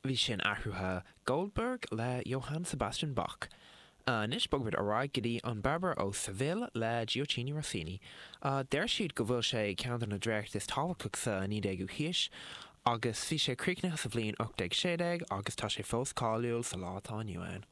Bhí sin athraithe Goldberg le Johann Sebastian Bach. Anois bogfaimid ar aghaidh go dtí An Barber ó Seville le Gioachino Rossini. Deir siad go bhfuil sé ceann de na dréacht is tábhachtach sa 19ú haois agus bhí sé críochnaithe sa bhliain 1816 agus tá sé fós cáiliúil sa lá atá inniu ann.